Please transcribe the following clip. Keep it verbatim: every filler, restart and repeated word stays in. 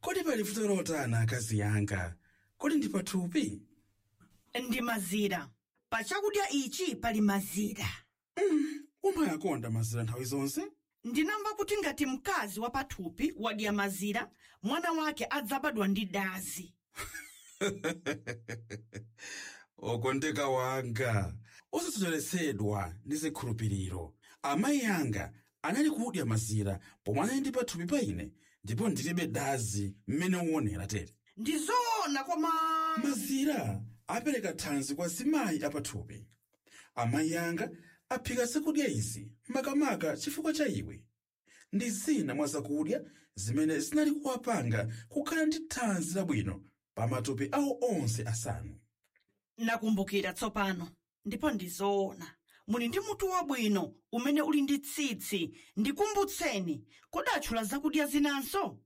Kodi pali vuto lotani, akazi yanga? Kodi ndi pathupi? Ndi mazira. Pa chakudya ichi pali mazira. Umayakonda mazira nthawi zonse. Ndinamva kuti ngati mkazi wa pathupi wadya mazira, mwana wake adzabadwa ndi dazi. Okondeka wanga, osasocheretsedwa ndi zikhulupiriro. Amayi anga anali kudya mazira pomwe anali ndi pathupi pa ine, ndipo ndilibe dazi mmene uonera tere. Ndi zoona, koma mazira apereka thanzi kwa zimayi apathupi. Amayi anga aphika zakudya izi makamaka chifukwa cha iwe. Ndi zina mwa zakudya zimene zinali kuwapanga kukhala ndi thanzi labwino pa matupi awo onse asanu. Nakumbukira tsopano, ndipo ndi zoona. Muli ndi mutu wabwino umene uli ndi tsitsi. Ndikumbutseni, kodi atchula zakudya zinanso?